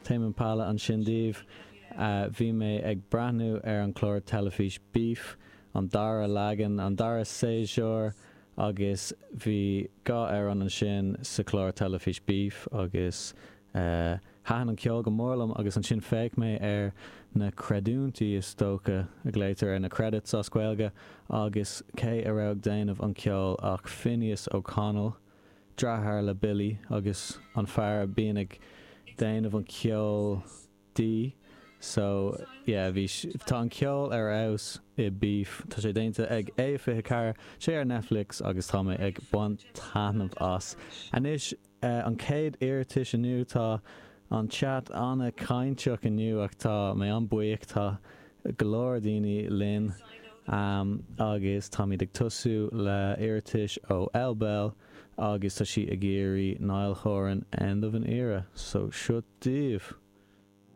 Tame Impala ansin daoibh. Bhí mé ag breathnú ar an chlár teilifís Beef, an dara leagan, an dara séasúr, agus bhí 2 amhrán ansin sa chlár teilifís Beef agus thaitin an ceol go mór liom agus ansin féach mé ar na creidiúintí, is dócha a ghlaotar ar na credits as Gaeilge, agus cé a raibh ag déanamh an ceoil ach Finneas O'Connell. Deartháir le Billy agus an fear a bíonn ag déanamh an ceoil di so yeah bhí tá an ceol ar fheabhas i Beef tá sé déanta ag A24 sé ar Netflix agus tá mé ag baint taitneamh as. Anois an chéad iarratais inniu tá an chat an-chainteach inniu ach tá mé an-buíoch tá go leor daoine linn agus táimid ag tosú le iarratais ó Elle Bell agus tá sí ag iarraidh Niall Horan End of an Era so seo daoibh.